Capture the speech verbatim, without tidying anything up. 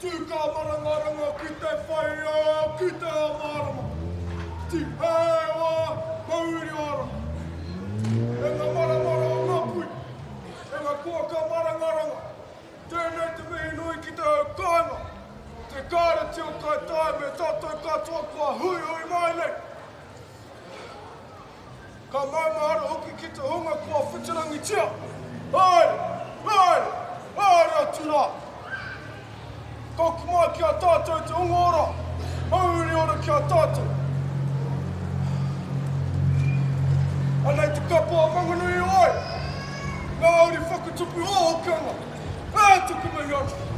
Tū ka marangaranga ki te whai ao, ki te ao mārama. Tīhei wā, mauri ora. E ngā maramara o Ngāpuhi, e ngā koaka marangaranga, tēnei te mihi nui ki te hau kāinga, te kāreti o Kaitaia me tātou katoa kua huihui mai nei. Ka maumahara hoki ki te hunga kua whitirangitia. Haere, haere, haere atu rā. Tōku mai ki a tātou te hunga ora, mauri ora ki a tātou. Anei te kapa o Manganui o ai, ngā uri whakatupu o Hokianga, e tuku mihi ana.